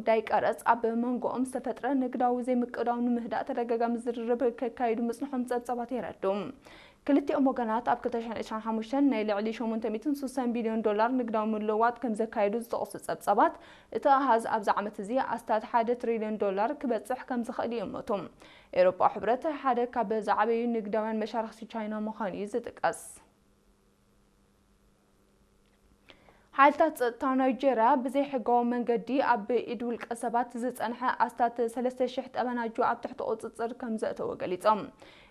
ዳይ ቀረጽ ኣብ መንጎኦም ዝተፈጥረ ንግዳዊ ዘይምቅዳው ንምህዳእ ተደጋጋሚ ዝርርብ ከካይዱ ምጽንሖም ጸብጻባት የረድኡ። ክልቲኦም ወገናት ኣብ ክልተ ሽሕን ዕስራን ሓሙሽተን ናይ ልዕሊ ሸሞንተ ሚእትን ስሳን ቢልዮን ዶላር ንግዳዊ ምልውዋጥ ከም ዘካየዱ ዝጠቕሱ ጸብጻባት፣ እቲ ኣሃዝ ኣብዚ ዓመት እዚ ኣስታት ሓደ ትሪልዮን ዶላር ክበጽሕ ከም ዝኽእል ይእምቱ። ኤውሮጳዊ ሕብረት ሓደ ካብ ዝዓበዩ ንግዳውያን መሻርኽቲ ቻይና ምዃኑ እዩ ዝጥቀስ። ሓይልታት ጸጥታ ናይጄርያ ብዘይሕጋዊ መንገዲ ኣብ ኢድ ውልቀ ሰባት ዝጸንሐ ኣስታት ሰለስተ ሽሕ ጠበናጁ ኣብ ትሕቲ ቁጽጽር ከም ዘእተወ ገሊጾም።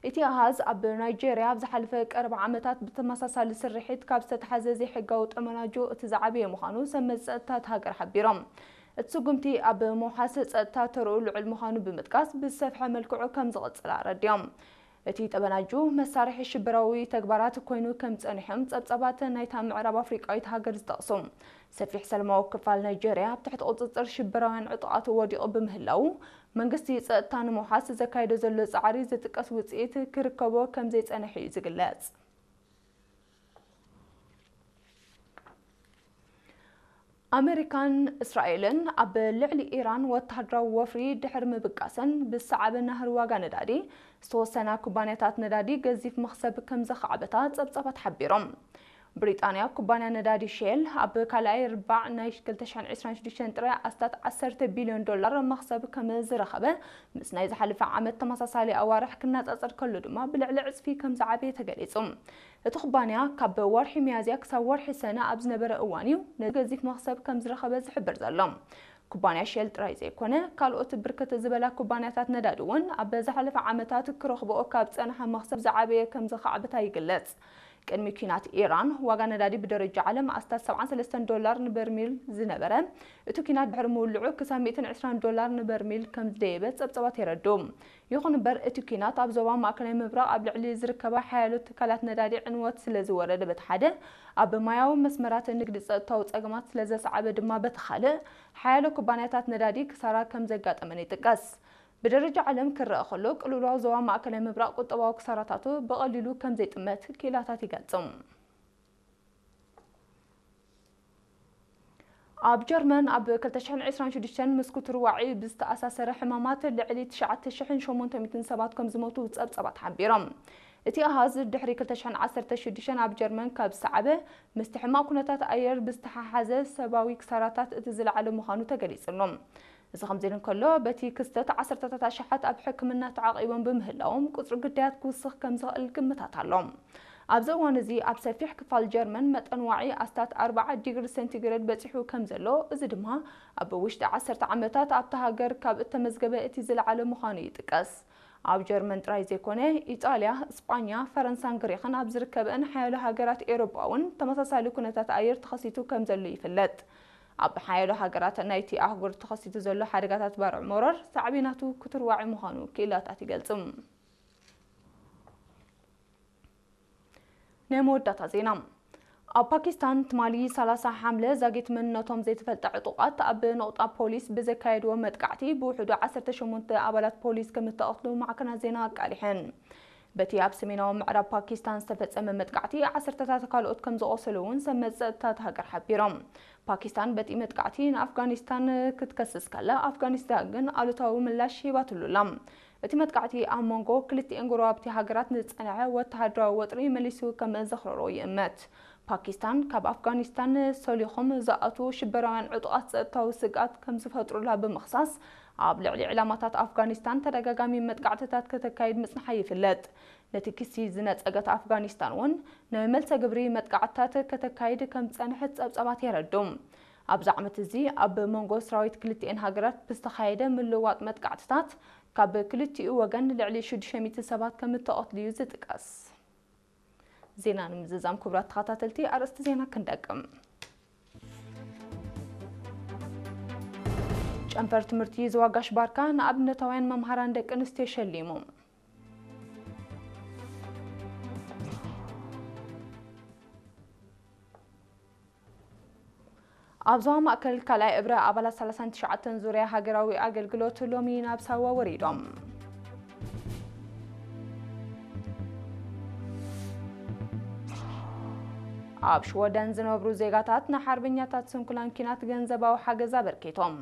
እቲ ኣሃዝ ኣብ ናይጄርያ ኣብ ዝሓለፈ ቀረባ ዓመታት ብተመሳሳሊ ስርሒት ካብ ዝተታሕዘ ዘይሕጋዊ ጠበናጁ እቲ ዝዓበየ ምዃኑ ሰብ መዚ ጸጥታ እታ ሃገር ሓቢሮም። እቲ ስጉምቲ ኣብ ምውሓስ ጸጥታ ተርኡ ልዑል ምዃኑ ብምጥቃስ፣ ብዝሰፍሐ መልክዑ ከም ዝቕጽል ኣረዲኦም። እቲ ጠበናጁ መሳርሒ ሽበራዊ ተግባራት ኮይኑ ከም ጸኒሖም ጸብጻባት ናይታ ምዕራብ ኣፍሪቃዊት ሃገር ዝጠቕሱ። ሰፊሕ ሰላማዊ ክፋል ናይጄርያ ኣብ ትሕቲ ቁጽጽር ሽበራውያን ዕጡቓት ወዲቑ ብምህላዉ፣ መንግስቲ ጸጥታ ንምውሓስ ዘካየዶ ዘሎ ጻዕሪ ዝጥቀስ ውጽኢት ክርከቦ ከም ዘይጸንሐ እዩ ዝግለጽ። ኣመሪካን እስራኤልን ኣብ ልዕሊ ኢራን ወተሃደራዊ ወፍሪ ድሕሪ ምብጋሰን፣ ብዝሰዓበ ናህሪ ዋጋ ነዳዲ ዝተወሰና ኩባንያታት ነዳዲ ገዚፍ መኽሰብ ከም ዘኻዕበታ ጸብጻባት ሓቢሮም። ብሪጣንያ ኩባንያ ነዳዲ ሼል ኣብ ካልኣይ ርባዕ ናይ ክልተ ሽሕን ዕስራን ሽዱሽተን ጥራይ ኣስታት ዓሰርተ ቢልዮን ዶላር መኽሰብ ከም ዝረኸበ፣ ምስ ናይ ዝሓለፈ ዓመት ተመሳሳሊ ኣዋርሕ ክነጻጸር ከሎ ድማ ብልዕሊ ዕጽፊ ከም ዝዓበየ ተገሊጹ። እቲ ኩባንያ ካብ ወርሒ ሚያዝያ ክሳብ ወርሒ ሰነ ኣብ ዝነበረ እዋን እዩ ነዚ ገዚፍ መኽሰብ ከም ዝረኸበ ዝሕብር ዘሎ። ኩባንያ ሼል ጥራይ ዘይኮነ፣ ካልኦት ብርክት ዝበላ ኩባንያታት ነዳዲ እውን ኣብ ዝሓለፈ ዓመታት ክረኽብኦ ካብ ዝጸንሓ መኽሰብ ዝዓበየ ከም ዘኻዕበታ ይግለጽ። ቅድሚ ኲናት ኢራን፣ ዋጋ ነዳዲ ብደረጃ ዓለም ኣስታት ሰብዓን ሰለስተን ዶላር ንበርሚል ዝነበረ፣ እቲ ኲናት ድሕሪ ምውልዑ ክሳብ ሚእትን ዕስራን ዶላር ንበርሚል ከም ዝደየበ ጸብጻባት የረድኡ። ይኹን እምበር፣ እቲ ኲናት ኣብ ዞባ ማእከላይ ምብራቕ ኣብ ልዕሊ ዝርከባ ሓያሎ ትካላት ነዳዲ ዕንወት ስለ ዝወረደ በቲ ሓደ፣ ኣብ ማያዊ መስመራት ንግዲ ጸጥታዊ ጸገማት ስለ ዘስዓበ ድማ በቲ ካልእ፣ ሓያሎ ኩባንያታት ነዳዲ ክሳራ ከም ዘጋጠመን ይጥቀስ። ብደረጃ ዓለም ክረኣ ከሎ፣ ቅልውላው ዞባ ማእከላይ ምብራቕ ቁጠባዊ ክሳራታቱ ብቐሊሉ ከም ዘይጥመት ክኢላታት ይገልጹ። ኣብ ጀርመን ኣብ ክልተ ሽሕን ዕስራን ሽዱሽተን ምስ ክትርዋዒ ብዝተኣሳሰረ ሕማማት ልዕሊ ትሽዓተ ሽሕን ሸሞንተ ሚእትን ሰባት ከም ዝሞቱ ጸብጻባት ሓቢሮም። እቲ ኣሃዝ ድሕሪ ክልተ ሽሕን ዓሰርተ ሽዱሽተን ኣብ ጀርመን ካብ ዝሰዓበ፣ ምስቲ ሕማቕ ኩነታት ኣየር ብዝተሓሓዘ ሰብኣዊ ክሳራታት እቲ ዝለዓለ ምዃኑ ተገሊጹ ኣሎ። እዚ ከምዚ ኢሉ እንከሎ፣ በቲ ክስተት ዓሰርተታት ኣሽሓት ኣብ ሕክምና ተዓቒቦም ብምህላዎም፣ ቁጽሪ ግዳያት ክውስኽ ከም ዝኽእል ግምታት ኣሎ። ኣብዚ እዋን እዚ ኣብ ሰፊሕ ክፋል ጀርመን መጠን ዋዒ ኣስታት ኣርብዓ ዲግሪ ሴንቲግሬድ በጺሑ ከም ዘሎ፣ እዚ ድማ ኣብ ውሽጢ ዓሰርተ ዓመታት ኣብታ ሃገር ካብ እተመዝገበ እቲ ዝለዓለ ምዃኑ ይጥቀስ። ኣብ ጀርመን ጥራይ ዘይኮነ፣ ኢጣልያ፣ እስጳኛ፣ ፈረንሳን ግሪኽን ኣብ ዝርከበን ሓያሎ ሃገራት ኤውሮጳ እውን ተመሳሳሊ ኩነታት ኣየር ተኸሲቱ ከም ዘሎ ይፍለጥ። ኣብ ሓያሎ ሃገራት ናይቲ ኣህጉር ተኸሲቱ ዘሎ ሓደጋታት ባርዕ መሮር ሳዕቤናቱ ክትርዋዒ ምዃኑ ክኢላታት ይገልጹ። ናይ መወዳእታ ዜና። ኣብ ፓኪስታን ትማሊ ሰላሳ ሓምለ ዛጊት መንነቶም ዘይተፈልጠ ዕጡቓት ኣብ ነቑጣ ፖሊስ ብዘካየድዎ መጥቃዕቲ ብውሕዱ ዓሰርተ ሸሞንተ ኣባላት ፖሊስ ከም እተቐትሉ ማዕከናት ዜና ኣቃሊሐን። በቲ ኣብ ሰሜናዊ ምዕራብ ፓኪስታን ዝተፈጸመ መጥቃዕቲ ዓሰርተታት ካልኦት ከም ዝቖሰሉ እውን ሰብ መዚ ጸጥታ እታ ሃገር ሓቢሮም። ፓኪስታን በቲ መጥቃዕቲ ንኣፍጋኒስታን ክትከስስ ከላ፣ ኣፍጋኒስታን ግን ኣሉታዊ ምላሽ ሂባትሉ ኣላ። እቲ መጥቃዕቲ ኣብ መንጎ ክልቲኤን ጎረባብቲ ሃገራት ንዝጸንሐ ወተሃደራዊ ወጥሪ መሊሱ ከም ዘኽረሮ ይእመት። ፓኪስታን ካብ ኣፍጋኒስታን ሰሊኾም ዝኣትዉ ሽበራውያን ዕጡቓት ጸጥታዊ ስግኣት ከም ዝፈጥሩላ ብምኽሳስ፣ ኣብ ልዕሊ ዕላማታት ኣፍጋኒስታን ተደጋጋሚ መጥቃዕትታት ከተካይድ ምጽንሓ ይፍለጥ። ነቲ ክሲ ዝነጸገት ኣፍጋኒስታን እውን ናይ መልሰ ግብሪ መጥቃዕትታት ከተካይድ ከም ዝጸንሐት ጸብጻባት የረድኡ። ኣብዚ ዓመት እዚ ኣብ መንጎ ሰራዊት ክልቲኤን ሃገራት ብዝተኻየደ ምልውዋጥ መጥቃዕትታት ካብ ክልቲኡ ወገን ልዕሊ ሽዱሽተ ሚእቲ ሰባት ከም እተቐትሉ እዩ ዝጥቀስ። ዜና ንምዝዛም ክቡራት ተኸታተልቲ ኣርእስቲ ዜና ክንደቅም። ጨንፈር ትምህርቲ ዞባ ጋሽ ባርካ ንኣብነታውያን መምሃራን ደቂ ኣንስትዮ ሸሊሙ። ኣብ ዞባ ማእከል ካልኣይ እብረ ኣባላት ሰላሳን ትሽዓተን ዙርያ ሃገራዊ ኣገልግሎት ሎሚ ናብ ሳዋ ወሪዶም። ኣብ ሽወደን ዝነብሩ ዜጋታት ንሓርበኛታት ስንኩላን ኲናት ገንዘባዊ ሓገዝ ኣበርኪቶም።